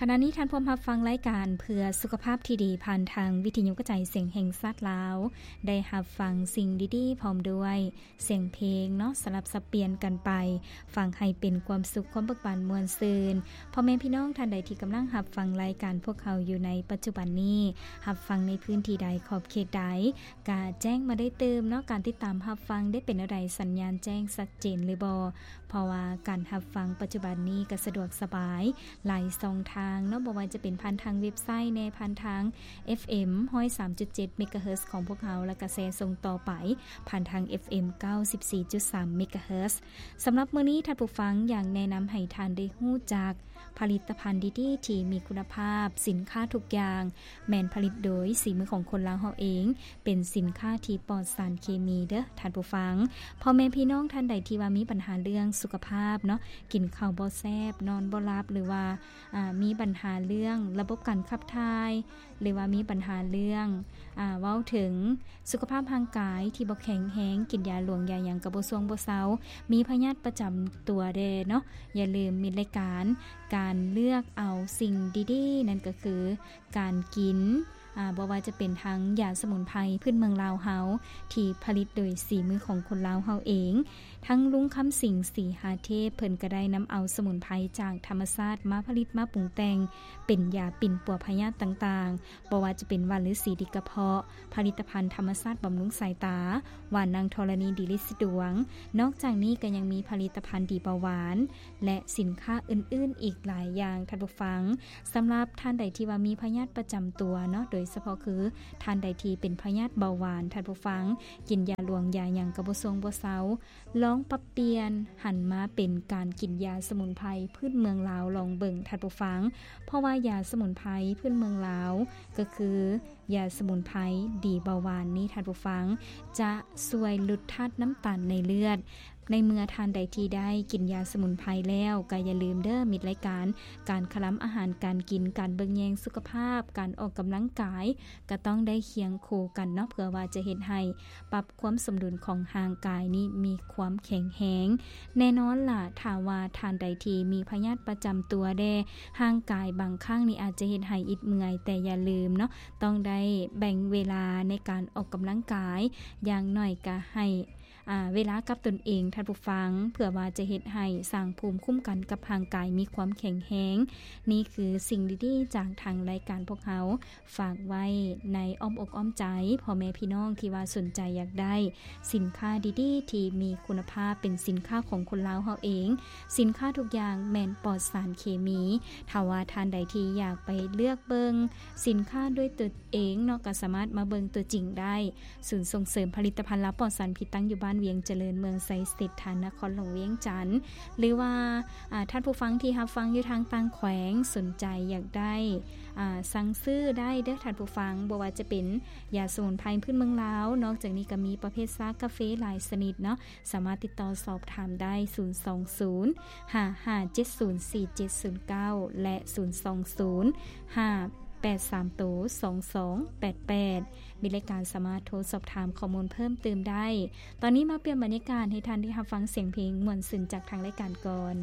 ຂະນະນີ້ທ່ານພວມຮັບຟັງລາຍການເພື່ອສຸຂະພາບທີ່ດີ ຜ່ານທາງວິທະຍຸກະຈາຍສຽງແຫ່ງຊາດລາວ, ໄດ້ຮັບຟັງສິ່ງດີໆ ພ້ອມດ້ວຍສຽງເພງເນາະ, ສະຫຼັບສັບປ່ຽນກັນໄປ ຟັງໃຫ້ເປັນຄວາມສຸກ, ຄວາມເບີກບານມ່ວນຊື່ນ. ພໍ່ແມ່ພີ່ນ້ອງທ່ານໃດທີ່ກຳລັງຮັບຟັງລາຍການພວກເຮົາຢູ່ໃນປັດຈຸບັນນີ້, ຮັບຟັງໃນພື້ນທີ່ໃດ, ຂອບເຂດໃດ, ກະແຈ້ງມາໄດ້ຕື່ມເນາະ. ການຕິດຕາມຮັບຟັງໄດ້ເປັນແນວໃດ? ສັນຍານແຈ້ງຊັດເຈນຫຼືບໍ່? ເພາະວ່າການຮັບຟັງປັດຈຸບັນນີ້ກໍສະດວກສະບາຍຫຼາຍຊ່ອງທາງເນາະ, ບໍ່ວ່າຈະເປັນຜ່ານທາງເວັບໄຊແດ່, ຜ່ານທາງ ເອັຟເອັມ ຮ້ອຍສາມຈຸດເຈັດ ເມກາເຮີດ ຂອງພວກເຮົາ, ແລ້ວກໍແຊສົ່ງຕໍ່ໄປຜ່ານທາງ ເອັຟເອັມ ເກົ້າສິບສີ່ຈຸດສາມ ເມກາເຮີດ. ສຳລັບມື້ນີ້ທ່ານຜູ້ຟັງຢາກແນະນຳໃຫ້ທ່ານໄດ້ຮູ້ຈັກ ຜະລິດຕະພັນດີໆ ທີ່ມີຄຸນນະພາບ, ສິນຄ້າທຸກຢ່າງແມ່ນຜະລິດໂດຍສີມືຂອງຄົນລາວເຮົາເອງ, ເປັນສິນຄ້າທີ່ປອດສານເຄມີເດີ້ທ່ານຜູ້ຟັງ. ພໍ່ແມ່ພີ່ນ້ອງທ່ານໃດທີ່ວ່າມີບັນຫາເລື່ອງສຸຂະພາບເນາະ, ກິນເຂົ້າບໍ່ແຊບ, ນອນບໍ່ຫຼັບ, ຫຼືວ່າ ອາ ມີບັນຫາເລື່ອງລະບົບການຂັບຖ່າຍ, ຫຼືວ່າມີບັນຫາເລື່ອງ ອາ ເວົ້າເຖິງສຸຂະພາບຮ່າງກາຍທີ່ບໍ່ແຂງແຮງ, ກິນຢາຫຼວງຢາຫຍັງກໍບໍ່ຊ່ວງບໍ່ເຊົາ, ມີພະຍາດປະຈຳຕົວແດ່ເນາະ, ຢ່າລືມມິດລາຍການ ການເລືອກເອົາສິ່ງດີໆ ນັ້ນກໍຄືການກິນ ອາ ບໍ່ວ່າຈະເປັນທັງຢາສະໝຸນໄພພື້ນເມືອງລາວເຮົາ ທີ່ຜະລິດໂດຍສີມືຂອງຄົນລາວເຮົາເອງ, ທັງລຸງຄຳສິງ ສີຫາເທບ ເພິ່ນກໍໄດ້ນຳເອົາສະໝຸນໄພຈາກທຳມະຊາດມາຜະລິດມາປຸງແຕ່ງເປັນຢາປິ່ນປົວພະຍາດຕ່າງໆ, ບໍ່ວ່າຈະເປັນຫວ່ານລືສີດີກະເພາະ, ຜະລິດຕະພັນທຳມະຊາດບຳລຸງສາຍຕາ, ຫວ່ານນາງທໍລະນີດີລິດສະດວງ. ນອກຈາກນີ້ກໍຍັງມີຜະລິດຕະພັນດີເບົາຫວານ ແລະ ສິນຄ້າອື່ນໆອີກຫຼາຍຢ່າງທ່ານຜູ້ຟັງ. ສຳລັບທ່ານໃດທີ່ວ່າມີພະຍາດປະຈຳຕົວເນາະ, ໂດຍສະເພາະຄືທ່ານໃດທີ່ເປັນພະຍາດເບົາຫວານ, ທ່ານຜູ້ຟັງ ກິນຢາຫຼວງຢາຫຍັງກໍບໍ່ຊ່ວງບໍ່ເຊົາ, ລອງປັບປ່ຽນຫັນມາເປັນການກິນຢາສະໝຸນໄພພື້ນເມືອງລາວລອງເບິ່ງທ່ານຜູ້ຟັງ, ເພາະວ່າຢາສະໝຸນໄພພື້ນເມືອງລາວກໍຄື ຢາສະໝຸນໄພດີເບົາຫວານນີ້ທ່ານຜູ້ຟັງ ຈະຊ່ວຍຫຼຸດທາດນ້ຳຕານໃນເລືອດ. ໃນເມື່ອທ່ານໃດທີ່ໄດ້ກິນຢາສະໝຸນໄພແລ້ວ ກໍຢ່າລືມເດີ້ມິດລາຍການ ການຄະລຳອາຫານການກິນ, ການເບິ່ງແຍງສຸຂະພາບ, ການອອກກຳລັງກາຍ ກໍຕ້ອງໄດ້ຄຽງຄູ່ກັນເນາະ ເພື່ອວ່າຈະເຮັດໃຫ້ປັບຄວາມສົມດຸນຂອງຮ່າງກາຍນີ້ມີຄວາມແຂງແຮງ. ແນ່ນອນລະ ຖ້າວ່າທ່ານໃດທີ່ມີພະຍາດປະຈຳຕົວແດ່, ຮ່າງກາຍບາງຄັ້ງນີ້ອາດຈະເຮັດໃຫ້ອິດເມື່ອຍ, ແຕ່ຢ່າລືມເນາະ ຕ້ອງໄດ້ແບ່ງເວລາໃນການອອກກຳລັງກາຍ, ຢ່າງໜ້ອຍກະໃຫ້ ອາ ເວລາກັບຕົນເອງທ່ານຜູ້ຟັງ, ເພື່ອວ່າຈະເຮັດໃຫ້ສ້າງພູມຄຸ້ມກັນກັບຮ່າງກາຍມີຄວາມແຂງແຮງ. ນີ້ຄືສິ່ງດີໆຈາກທາງລາຍການພວກເຮົາ ຝາກໄວ້ໃນອ້ອມອົກອ້ອມໃຈພໍ່ແມ່ພີ່ນ້ອງທີ່ວ່າສົນໃຈຢາກໄດ້ສິນຄ້າດີໆທີ່ມີຄຸນນະພາບ, ເປັນສິນຄ້າຂອງຄົນລາວເຮົາເອງ. ສິນຄ້າທຸກຢ່າງແມ່ນປອດສານເຄມີ. ຖ້າວ່າທ່ານໃດທີ່ຢາກໄປເລືອກເບິ່ງສິນຄ້າດ້ວຍຕົວເອງເນາະ, ກໍສາມາດມາເບິ່ງຕົວຈິງໄດ້. ສູນສົ່ງເສີມຜະລິດຕະພັນລາວປອດສານພິດ ຕັ້ງຢູ່ບ້ານວຽງຈະເລີນ, ເມືອງໄຊເສດຖາ, ນະຄອນຫຼວງວຽງຈັນ. ຫຼືວ່າ ອາ ທ່ານຜູ້ຟັງທີ່ຮັບຟັງຢູ່ທາງຕ່າງແຂວງ ສົນໃຈຢາກໄດ້ ອາ ສັ່ງຊື້ໄດ້ເດີ້ທ່ານຜູ້ຟັງ, ບໍ່ວ່າຈະເປັນຢາສະໝຸນໄພພື້ນເມືອງລາວ. ນອກຈາກນີ້ກໍມີປະເພດຊາກາເຟຫຼາຍຊະນິດເນາະ, ສາມາດຕິດຕໍ່ສອບຖາມໄດ້ ສູນສອງສູນ ຫ້າຫ້າເຈັດສູນ ສີ່ເຈັດສູນເກົ້າ ແລະ ສູນສອງສູນ ຫ້າແປດສາມໂຕ ສອງສອງແປດແປດ. ມີລາຍການສາມາດໂທສອບຖາມຂໍ້ມູນເພີ່ມເຕີມໄດ້. ຕອນນີ້ມາປ່ຽນບັນຍາກາດໃຫ້ທ່ານໄດ້ຮັບຟັງສຽງເພງມ່ວນຊື່ນຈາກທາງລາຍການກ່ອນ.